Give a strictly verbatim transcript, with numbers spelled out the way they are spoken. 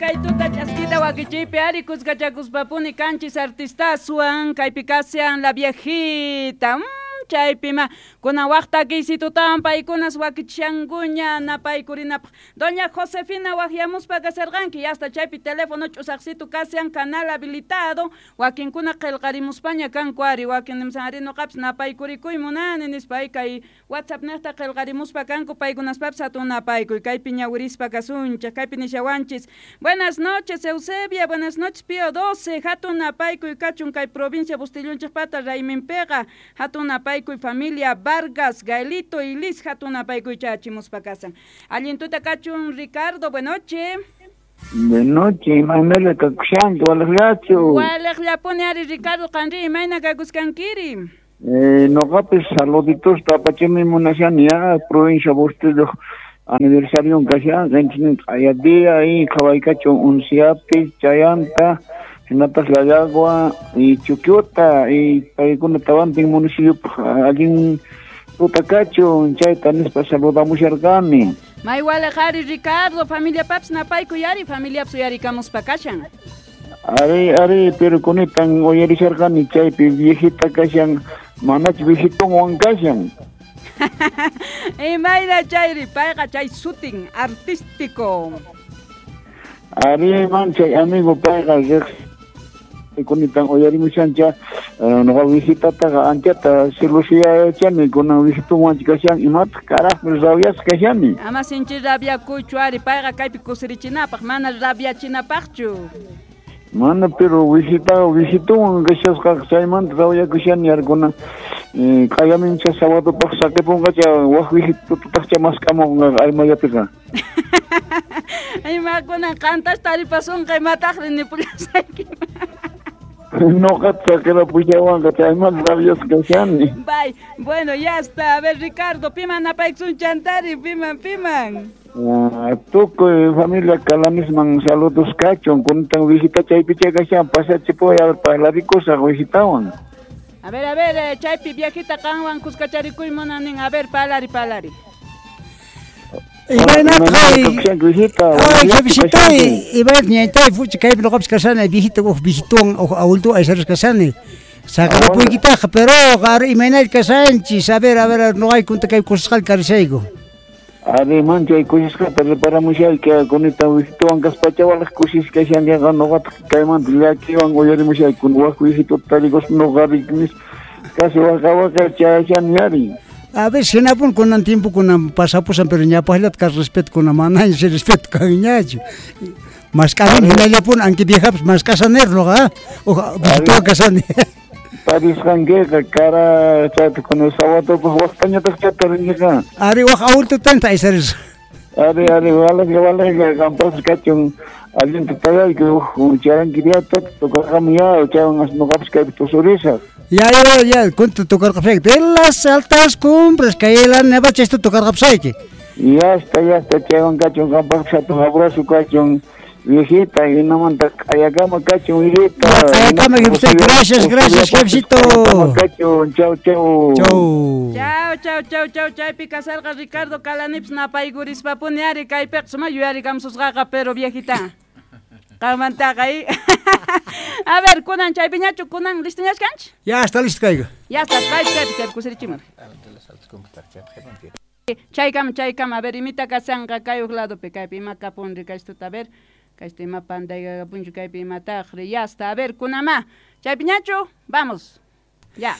Kay tuta ch'askita wakichiypi ari kuskachakuspapuni kanchis artistaswan kaypi kashan la viejita. Mm, chaypima kunan waqta kiysitutawan paykunas wakichishankuña napaykurinapaq. Doña Josefina waqyamuspa kasharqanki hasta chaypi teléfono ch'usaqsitu kashan canal habilitado wakinkuna qillqarimuspaña kanku ari wakin nimusan ari nuqapis napaykurikuy munani nispa kay WhatsApp niqta qillqarimuspa kanku paykunaspapis hatun napaykuy kaypi ñawirispa kasunchik kaypi nishawanchis. Buenas noches Eusebia, buenas noches Pío doce, hatun napaykuy kachun kay provincia Bustillunchikpata rayminpiqa hatun napaykuy familia Vargas, Gaelito y Liz hatun napaykuy chachimuspa kasan. Allin tuta kachun Ricardo, buenas noches. De noche, imaynalla kakushanki, waliqllachu. Waliqllapuni ari Ricardo qanri imayna kakuskankiri. Eh, noqapis saluditosta apachimi munashani ya provincia Bustillo aniversario kashan qanchis q'aya día y qhawaykachun unciapi chayanta hinataq Llallagua y Chuquiota y paykuna tawantin municipio allin tuta kachun chayta nispa saludamusharqani. May waliq ari Ricardo, familia paps napaykuy ari familiapas uyarikamuspa kashan. Ari, ari, pero kunitan uyarisharqani chaypi viejita kashan manach viejitonwan kashan. Imayna chayri payqa chay sutin artístico. Ari man chay amigo payqa riq kunitan uyarimushancha nuqa viejitataqa anchata celusiachani kunan viejitonwan kashan imataq karaqmi rabyasqa kashani. Ama sinchi rabyakuychu ari payqa kaypi kusirichinapaq mana rabyachinapaqchu. Mana pero visita visituwan kashasqa chaymanta rawyakushani arkuna q'ayamincha sábadopaq saqipunqacha waq visitutaqcha mask'amunqa aymayapiqa. Imakunan qantas taripasunqa imataqri nipullasayki. Noqata saqirapushawanqa chaymanta rabyasqa kashani. Bye. Bueno, ya está. A ver, Ricardo, piman napaykusun chantari, piman, piman. Uh, tukuy familia Kalanisman saludos kachun kunitan visita chaypi kashan pasachipuy a ver parlarikusaq visitawan. A ver, a ver, eh, chaypi viejita qanwan kuskacharikuy munanin, a ver, palari, palari. Imaynataq ay visitay imayna ñaytay fuchi kaypi nuqapis kashani viejita uj viejituwan uj abuelituwan aysarisqa kashani. Saqrapuykitaqa pero qari imaynalla kashanchis a ver, a ver, nuqaykunta kay kusisqalla karishayku. Ari man chay kusisqata reparamushayki kunitan visituwan kaspacha waliq kusisqa kashankiqa nuqataq kaymanta llakiwan uyarimushayku waq visituta tarikuspa nuqari nispa casi waqa waqa chayashani ari. A ver, hinapun kunan tiempo kunan pasapusan pero ñapaqllata kaq respeto kunan manaña chay respeto kanñachu. Mask'arin hinallapun anki viejapas mask'asanir nuqa uj visituwan kashani. Tarisqankiqa kara chayta kunan sábadopaq waqtañataq chayta rinkiqa. Ari waq abuelitutanta aysarisqa. Ari ari waliqlla waliqlla qampas kachun allinta tayayki uj charankiriata tocarqami ya chaywan nuqapis kaypi tusurisaq. Ya, ya, ya, kunta tocarqapusayki de las altas cumbres kay la neva chayta tocarqapusayki. Ya está, ya está, chaywan kachun qampaqpis hatun abrazo kachun viejita hinamanta q'ayakama kachun viejita. Q'ayakama jefecito, gracias, gracias jefecito. Kachun, chau, chau. Chau. Chau, chau, chau, chau, chaypi kasarqa Ricardo Kalanipis napaykuриspapuni ari kaypiqa suma yuyarikamsusqaqa pero viejita. Qanmantaqa A ver, kunan chaypiñachu kunan listoñachu kanchik? Ya está listo kayqa. Ya está, kaypi chaypi chaypi kusirichimun. Chaykama, chaykama, a ver, imita kasanqa kay uq ladopi kaypi ima kapunri kaystuta a ver. Kaysta ima pantaykapunchu kaypi imataqri ya está, a ver, kunama. Chaypiñachu, vamos. Ya.